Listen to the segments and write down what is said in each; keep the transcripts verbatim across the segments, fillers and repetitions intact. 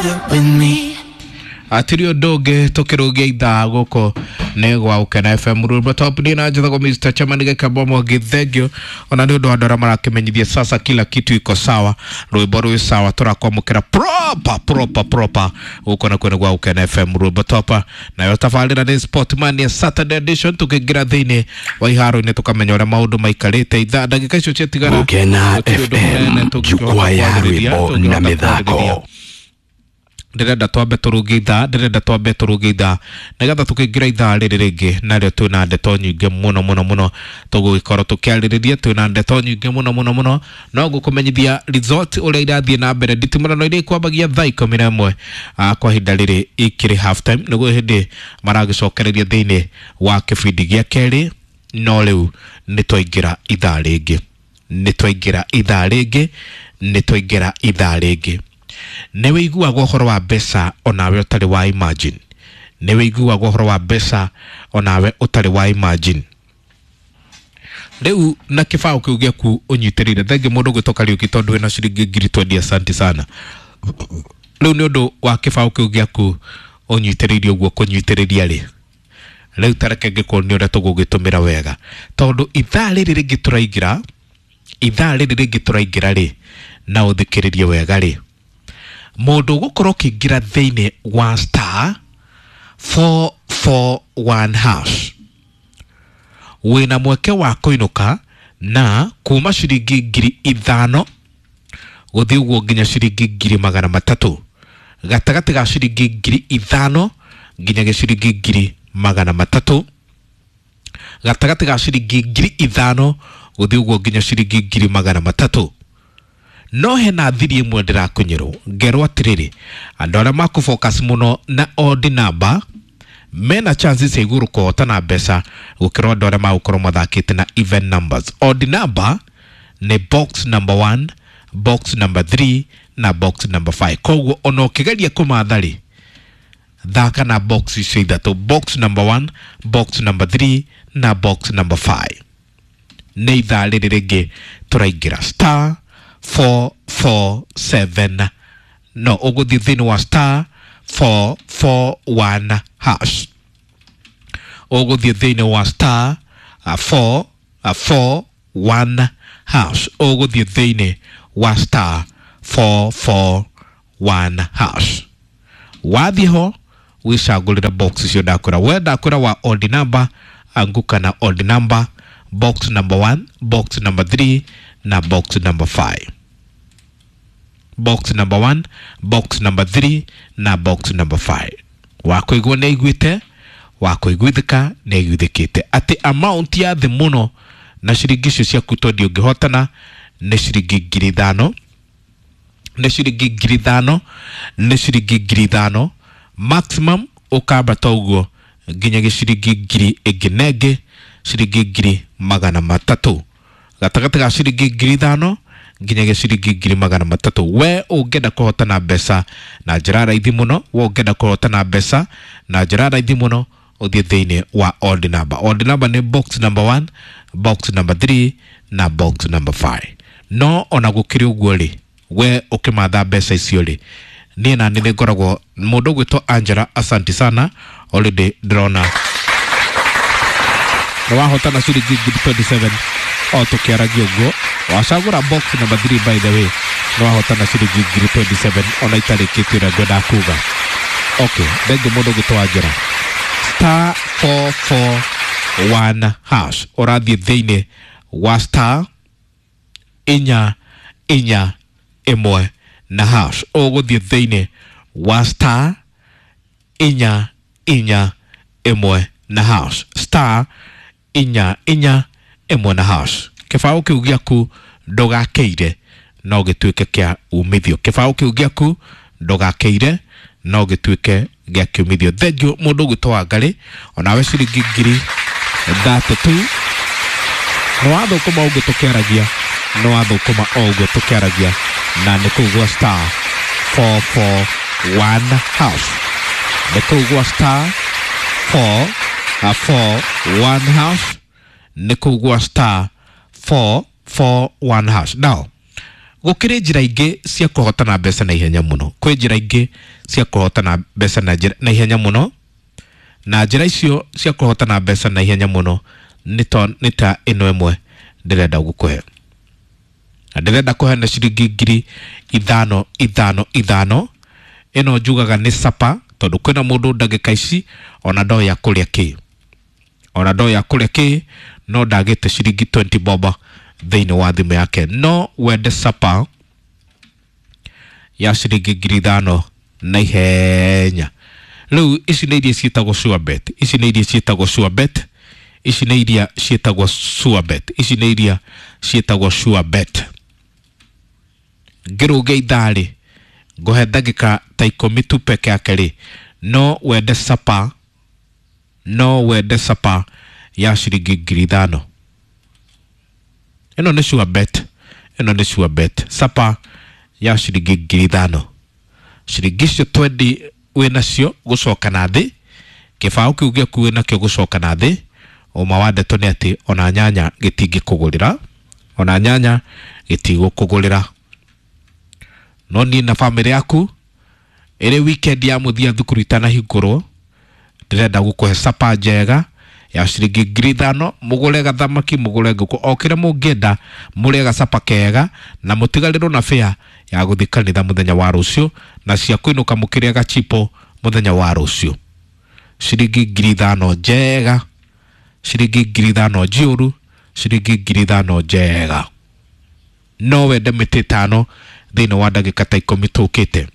water with me. Atiri ũndũ ũngĩ tũkĩrũgia ithaa gũkũ nĩ gwa Gũkena F M Rwĩmbo Top. Niĩ na njĩtagwo Mister Chairman Gĩkamba Mwangi, thank you ona nĩ ũndũ wa andũ arĩa marakĩmenyithia sasa kila kitu iko sawa, rwĩmbo rwĩ sawa, tũrakwamũkĩra proper proper proper gũkũ na kwene gwa Gũkena F M Rwĩmbo Top. Nayo tabarĩra nĩ Sportman ya Saturday edition, tũkĩingĩra thĩinĩ wa iharo-inĩ tũkamenya ũrĩa maũndũ maikarĩte. Ithaa ndagĩka icio ciatigara Gũkena gũtirĩ ũndũ F M, mũnene tũngĩhota jukwaa ya kwarĩrĩria, rwĩmbo na tũngĩhota mĩthako. kwarĩrĩria. Ndĩrenda twambe tũrũnge ithaa, ndĩrenda twambe tũrũnge ithaa nĩgetha tũkĩingĩra ithaa rĩrĩ rĩngĩ narĩo twĩna ndeto nyingĩ mũno mũno mũno tũgũgĩkorwo tũkĩarĩrĩria, twĩna ndeto nyingĩ mũno mũno mũno. No ngũkũmenyithia result ũrĩa irathiĩ na mbere nditimũrano iria ikwambagia thaa ikũmi na ĩmwe, ah, kwa ihinda rĩrĩ ikĩrĩ half time, nĩguo hĩndĩ maragĩcokereria thĩinĩ wa kĩbindi gĩa kerĩ. No rĩu nĩ twaingĩra ithaa rĩngĩ, nĩ twaingĩra ithaa rĩngĩ, nĩ twaingĩra ithaa rĩngĩ. Nĩ wĩiguaga ũhoro wa mbeca onawe ũtarĩ wa imagine, nĩ wĩiguaga ũhoro wa mbeca onawe ũtarĩ wa imagine. Rĩu na kĩbaũ kĩu gĩaku ũnyitĩrĩire, thengi mũndũ ũgwĩtwo Kariũki tondũ wĩna ciringi ngiri twendi, asante sana. Rĩu nĩ ũndũ wa kĩbaũ kĩu gĩaku ũnyitĩrĩire ũguo kũnyitĩrĩria rĩ, rĩu ta reke ngĩkuonie ũrĩa tũgũgĩtũmĩra wega, tondũ ithaa rĩrĩ rĩngĩ tũraingĩra, ithaa rĩrĩ rĩngĩ tũraingĩra rĩ, na ũthikĩrĩrie wega rĩ, mũndũ ũgũkorwo ũkĩingĩra thĩinĩ wa star four four one hash wĩna mweke wa kũinũka na kuma ciringi ngiri ithano gũthiĩ ũguo nginya ciringi ngiri magana matatũ, gatagatĩ ga ciringi ngiri ithano nginya ciringi ngiri magana matatũ, gatagatĩ ga ciringi ngiri ithano gũthiĩ ũguo nginya ciringi ngiri magana matatũ. No hena thiri ĩmwe ndĩrakunyĩrwo ngerwo atĩrĩrĩ, andũ arĩa makũ focus mũno na odd number mena chances cia igũrũ kũhotana mbeca gũkĩra andũ arĩa magũkorwo mathakĩte na even numbers. Odd number nĩ box number one, box number three na box number five. Koguo ona ũkĩgeria kũmatha rĩ, thaka na box icio ithatũ, box number one, box number three na box number five. Nĩ ithaa rĩrĩ rĩngĩ tũraingĩra star four four seven, no ũgũthiĩ thĩinĩ wa star four four one hash, ũgũthiĩ thĩinĩ wa star four four one hash, ũgũthiĩ thĩinĩ wa star four four one hash. Wathiĩ ho wĩcagũrĩre box icio ndakwĩra, we ndakwĩra wa odd number, anguka na odd number, box number one, box number three na box number five. Box number one, box number three na box number five. Wakũigua nĩ aiguĩte, wakũiguithĩka nĩ aiguithĩkĩte atĩ amount ya thĩ mũno na ciringi icio ciaku tondũ ũngĩhotana nĩ ciringi ngiri ithano, nĩ ciringi ngiri ithano, nĩ ciringi ngiri ithano, maximum ũkambata ũguo nginya gĩciringi ngiri ĩngĩ na ĩngĩ, ciringi ngiri magana matatũ, gatagatĩ ga ciringi ngiri ithano nginya gĩciringi ngiri magana matatũ. We ũngĩenda kũhotana mbeca na njĩra raithi mũno, we ũngĩenda kũhotana mbeca na njĩra raithi mũno, ũthiĩ thĩinĩ wa odd number. Odd number nĩ box number one, box number three na box number five. No ona gũkĩrĩ ũguo rĩ, we ũkĩmatha mbeca icio rĩ, niĩ na nĩ ngoragwo mũndũ ũgwĩtwo Angela, asante sana, already ndĩrona nĩ wahotana ciringi ngiri twenty-seven o tũkĩaragia ũguo. Wacagũra box number three, by the way, nĩ wahotana ciringi ngiri twenty-seven ona itarĩkĩtie ũrĩa ngwenda kuga. Okay, thengi mũndũ ũgwĩtwo Angela. Star four four one hash, ũrathiĩ thĩinĩ wa star inya inya ĩmwe na hash, ũgũthiĩ thĩinĩ wa star inya inya ĩmwe na hash, star inya inya ĩmwe na hash. Kĩbaũ kĩu gĩaku ndũgakĩire no gĩtuĩke kĩa umithio, kĩbaũ kĩu gĩaku ndũgakĩire no gĩtuĩke gĩa kiumithio. Thengiũ mũndũ ũgwĩtwo Wangarĩ, onawe ciringi ngiri thirty-two nĩ wathũkũma ũguo tũkĩaragia, nĩ wathũkũma o ũguo tũkĩaragia, na nĩ kũu gwa star four four one hash, nĩ kũu gwa star four four one hash, nĩ kũu gwa star four four one hash. Now Gũkĩrĩ njĩra ingĩ cia kũhotana mbeca na ihenya mũno. Kwĩ njĩra ingĩ cia kũhotana mbeca na njĩra na ihenya mũno, na njĩra icio cia kũhotana mbeca na ihenya mũno nĩ to nĩ ta ĩno ĩmwe ndĩrenda gũkũhe, na ndĩrenda kũhe na ciringi ngiri ithano ithano ithano. Ĩno njugaga nĩ sapa, tondũ kwĩna mũndũ ndagĩka ici ona ndoĩ akũrĩa kĩ, ona ndoĩ akũrĩa kĩ, no ndagĩte ciringi twenty bob thĩinĩ wa thimũ yake. No wende sapa ya ciringi ngiri ithano na ihenya. Rĩu ici nĩ iria ciĩtagwo sure bet, ici nĩ iria ciĩtagwo sure bet, ici nĩ iria ciĩtagwo sure bet, ici nĩ iria ciĩtagwo sure bet. Ngĩrũge ithaa rĩ, ngũhe ndagĩka ta ikũmi tu peke yake rĩ, no wende sapa, no wende sapa ya ciringi ngiri ithano. Ĩno nĩ sure bet, ĩno nĩ sure bet, sapa ya ciringi ngiri ithano. Ciringi icio twendi wĩ nacio gũcoka na thĩ, kĩbaũ kĩu gĩaku wĩ nakĩo gũcoka na thĩ. Ũma wa ndeto nĩ atĩ ona nyanya gĩtingĩkũgũrĩra, ona nyanya gĩtigũkũgũrĩra. No niĩ na bamĩrĩ yaku ĩrĩ weekend ya mũthia thukuru itanahingũrwo, ndĩrenda gũkũhe sapa njega ya ciringi ngiri ithano, mũgũre gathamaki, mũgũre ngũkũ, o kĩrĩa mũngĩenda, mũrĩe gacapa kega na mũtigarĩrwo na fare ya gũthiĩ kanitha mũthenya wa rũciũ, na cia kũinũka mũkĩrĩa gachipo mũthenya wa rũciũ. Ciringi ngiri ithano njega, ciringi ngiri ithano njĩũru, ciringi ngiri ithano njega. No wende mĩtĩ ĩtano thĩinĩ wa ndagĩka ta ikũmi tũkĩte.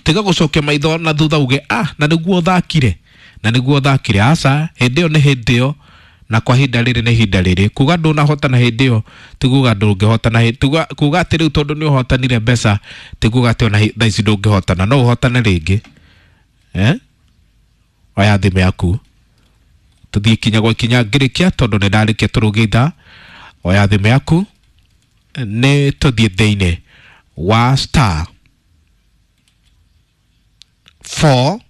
Tiga gũcokia maitho na thutha uge ah, na nĩguo thakire, na nĩguo thakire. Aca, hĩndĩ ĩyo nĩ hĩndĩ ĩyo, na kwa ihinda rĩrĩ nĩ ihinda rĩrĩ. Kuga ndũnahotana hĩndĩ ĩyo ti kuga ndũngĩhotana hĩ-, tuga, kuga atĩ rĩu tondũ nĩ ũhotanire mbeca ti kuga atĩ ona thaa ici ndũngĩhotana, no ũhotane rĩngĩ. Eh? Oya thimũ yaku tũthiĩ ikinya gwa ikinya ngĩrĩkia, tondũ nĩ ndarĩkia tũrũge ithaa. Oya thimũ yaku nĩ tũthiĩ thĩinĩ wa star four,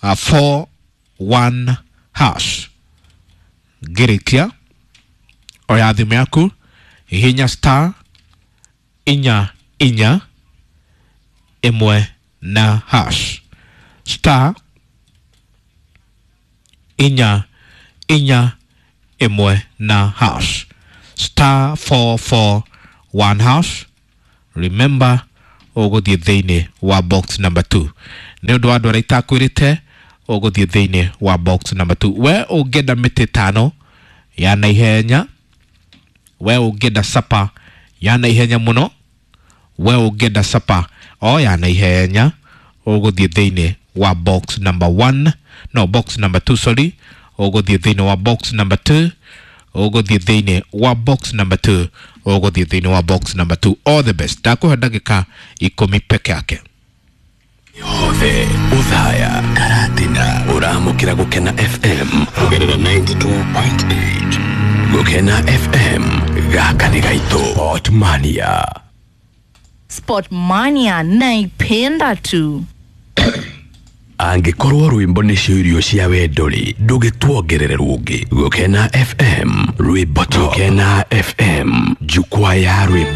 uh, four one hash. Ngĩrĩkia, oya thimũ yaku, hihinya star inya inya ĩmwe na hash, star inya inya ĩmwe na hash, star four four one hash. Remember, ũgũthiĩ thĩinĩ wa box number two. Nĩ ũndũ wa andũ arĩa itakwĩrĩte, ũgũthiĩ thĩinĩ wa box number two. We ũngĩenda mĩtĩ ĩtano ya naihenya, we ũngĩenda sapa ya naihenya mũno, we ũngĩenda sapa o ya naihenya, ũgũthiĩ thĩinĩ wa box number one, no box number two, sorry, ũgũthiĩ thĩinĩ wa box number two, ũgũthiĩ thĩinĩ wa box number two, ũgũthiĩ thĩinĩ wa box number two. All the best. Ndakũhe ndagĩka ikũmi peke yake. Yothe uthaya karatina uramukira Gukena F M kugerera ninety two point eight. Gukena F M gaka ni gaitũ. Sportmania. Sportmania naipenda tu. Angĩkorwo rwĩmbo nĩcio irio cia wendo rĩ, ndũgĩtuongerere rũngĩ. Gukena F M rwĩmbo tu. Gukena F M jukwaa ya rwĩmbo.